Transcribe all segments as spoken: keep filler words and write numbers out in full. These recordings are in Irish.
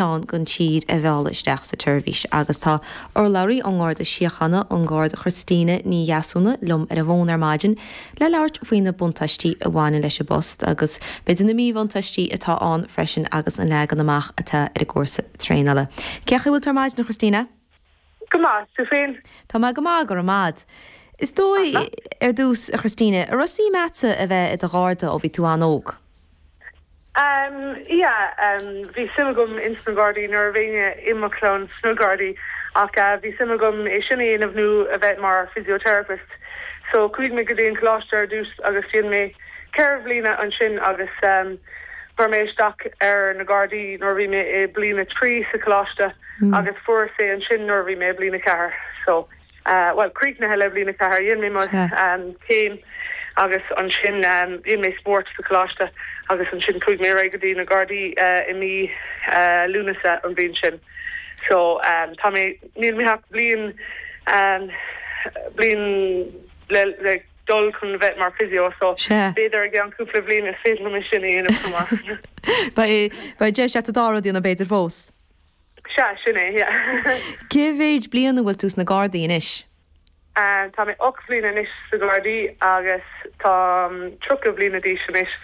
oileán den tír a mhealladh isteach sa tseirbhís agus tá urlabhraí ón nGarda Síochána an Garda Christina Ní Dheasúna liom ar an bhfón ar maidin le labhairt faoi na buntáistí a bhaineann leis an bpost agus b'fhéidir na míbhuntáistí atá ann freisin agus an leagan amach atá ar an gcúrsa traenála. Cén chaoi a bhfuil tú ar maidin Christina? Go maith tú féin? Tá mé go maith go raibh maith. Is dóigh ar dtús a Christina, an raibh suim agatsa a bheith i do Gharda ó bhí tú an-óg. Um, yeah, um, bhí suim agam ins na Gardaí nuair a bhí i mo chlann sna Gardaí ach uh, bhí suim agam é sin a dhéanamh nó a bheith mar physiotherapist. So chuaigh mé go dtí an coláiste ar dtús agus dhein mé ceithre bliana ansin agus um, chuir mé isteach ar na Gardaí nuair bhí mé i bliain a trí sa choláiste mm. agus fuair mé ansin nuair bhí mé bliain a ceathair. So uh, well críochnaithe le bliain a ceathair dhein mé um, céim agus ansin um, dhein mé spórt sa choláiste agus ansin chuaigh mé go dtí na Gardaí uh, i mí uh, Lúnasa an bhliain sin. So um, tá mé níl mé ach bliain um, bliain le, le dul chun bheith mar physio so b'fhéidir i gceann cúpla bliain is féidir liom sin a dhéanamh. Ba deis a dá na b'fhéidir fós. Sea sin é. Cé mhéad bliain a bhfuil tú sna Gardaí anois? Um, tá mé ocht bliana anois sna Gardaí agus tá tríocha bliana d'aois anois.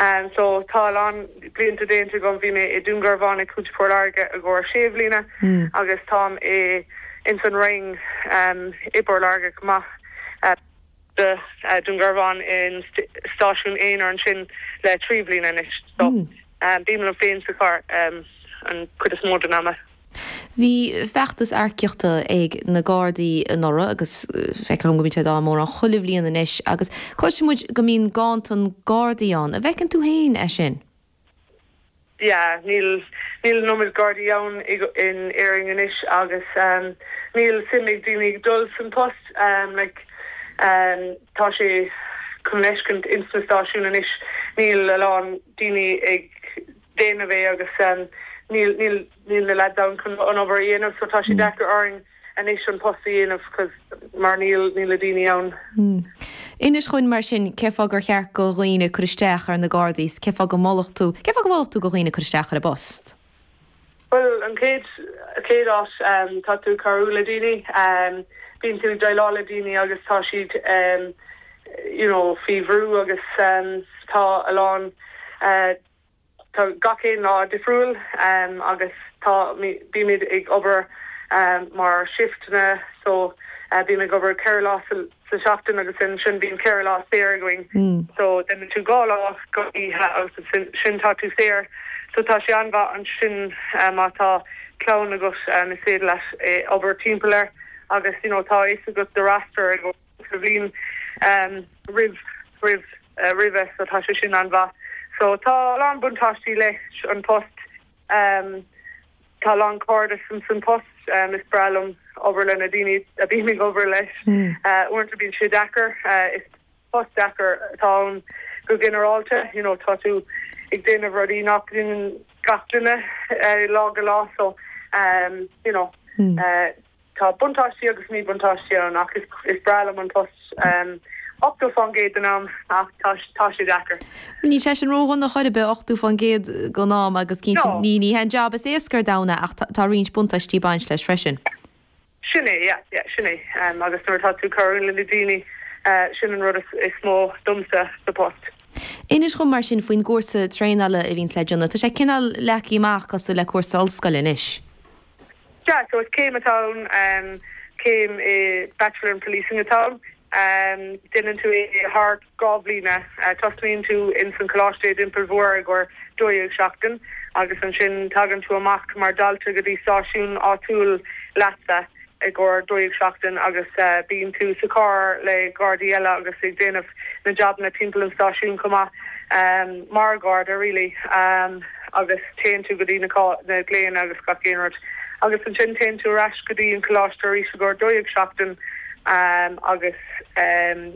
Um, so tá an blianta déanta agam bhí mé i Dún Garbhán i gContae Phort Láirge i gcomhair sé bliana mm. agus táim i in san Rinn um, i bPort Láirge maith uh, de uh, Dún Garbhán in stáisiún aon ansin le trí bliana anois. So mm. um, bím liom féin sa charr um, an chuid is mó den ama. Bhí feachtas earcaíochta ag na Gardaí anuraidh agus feicim go mbíonn dá mór an chuile bhliain anois agus cloisimid go mbíonn ganntan Gardaí ann, an bhfeiceann tú féin é sin? Yeah, níl níl an iomad Gardaí ann in Éirinn anois agus um, níl suim ag daoine dul san post um, like, um, tá sé chun leiscint in sna stáisiún anois níl a lán daoine ag déanamh é agus um, níl níl níl na lads ann chun an obair a dhéanamh so tá sé mm. deacair orainn anois an post a dhéanamh mar níl níl daoine ann. Mm. Inis dúinn mar sin cén fáth gur cheart do dhaoine cur isteach ar na Gardaí, cén fáth go molfadh tú, cén fáth go molfadh tú do dhaoine cur isteach ar an bpost? Well an chéad chéad áit um, tá tú cabhrú le daoine um, bíonn tú déileáil le daoine agus tá siad um, you know, faoi bhrú agus um, tá a lán uh, tá gach aon lá difriúil um, agus tá bímid ag obair um, mar shifteanna so uh, bím ag obair ceithre lá sa seachtain agus sin sin bíonn ceithre lá saor againn mm. so den tú dhá lá go agus sin tá tú saor so tá sé an-mhaith ansin um, tá clann agus um, is féidir leis eh, obair timpeall air agus you know, tá fhios agat do roster ag bhliain um, roimh roimh uh, roimhe so tá sé sin an-mhaith. So tá lán buntáistí leis an post um, tá lán cairdeas san san post um, is breá liom obair le na daoine a bím ag obair leis mm. uh, uaireanta bíonn sé deacair uh, is post deacair atá go ginearálta you know, tá tú ag déanamh rudaí nach ndéanann gach duine uh, lá go lá so um, you know, mm. uh, tá buntáistí agus míbhuntáistí ann ach is, is breá liom an post um, ochtó faoin gcéad den am ach tá sé deacair. Ní sé sin ródhona chor ar bith ochtó faoin gcéad den am agus cinn ní ní hen job is éasca domhan ach tá roinnt buntáistí ag baint leis freisin. Sin é sin é agus nuair tá tú cabhrú le daoine sin an rud is mó domsa sa post. Inis dom mar sin faoin gcúrsa traenála a bhíonn le déanamh, Tá sé cineál leagtha amach cosúil le cúrsa ollscoile anois. Ja, so is céim atá um, céim i Bachelor in Policing atá ann. Um, Déanann tú é thar dhá bhliain uh, tosnaíonn tú in san coláiste Dún Mhór i gcomhair dó dhéag seachtain agus ansin tagann tú amach mar dalta go dtí stáisiún áitiúil leatsa i gcomhair dó dhéag seachtain agus uh, bíonn tú sa charr le Gardaí eile agus ag déanamh na jabanna timpeall an stáisiún chomh maith um, mar Garda really um, agus téann tú go dtí na na glaonna agus gach aon rud. Agus ansin téann tú ar ais go dtí an coláiste arís i gcomhair dó dhéag seachtain um, agus um,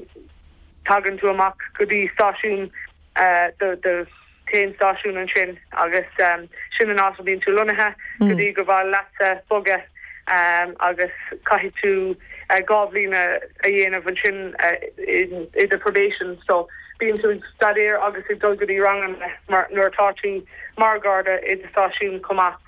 tagann tú amach go dtí stáisiún uh, de, de téon stáisiún ansin agus um, sin an áit a bíonn tú lonnaithe mm. go dtí gur mhaith leatsa bogadh um, agus caithfidh tú uh, dhá bhliain a dhéanamh ansin uh, in, in the probation so bíonn tú staidéar agus ag dul go dtí ranganna mar nuair atá tú mar Garda i stáisiún chomh maith.